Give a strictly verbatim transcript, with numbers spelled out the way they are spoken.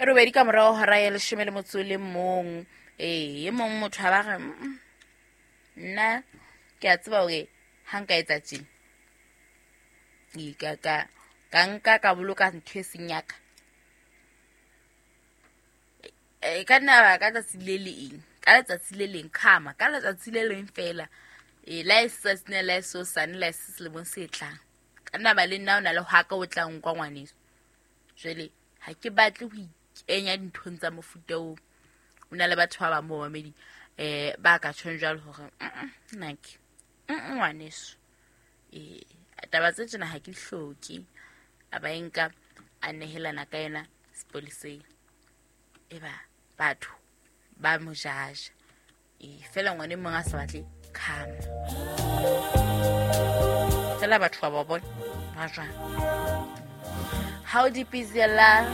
E robedi ka morao hora ya leshome le motso o le mong. Ee, e mong motho a ba re, "Mm, nna ke a tseba hore ha nka etsa tjena, ee, ka ka ka nka ka boloka ntho e seng ya ka. E ka nna ba ka tsatsi le leng, ka letsatsi le leng, khama, ka letsatsi le leng feela. Ee, la e se tsatsi lena, la e se hosane, la e se selemong se tlang. Ka nna ba le nna o na le hwa ka o tla nkwa ngwaneso. Jwale ha ke batle ho ikenya dinthong tsa mofuta oo. O na le batho ba bang bo mamedi eh ba ka tjhong jwalo hore mm nnake, mm ngwaneso. Eh taba tse tjena ha ke di hloke. A ba e nka a nehelana ka yona sepoleseng. Eba batho ba mo jaja. E fela ngwana e mong a sa batle khama. Fela batho ba ba bona ba jwang. How deep is your love?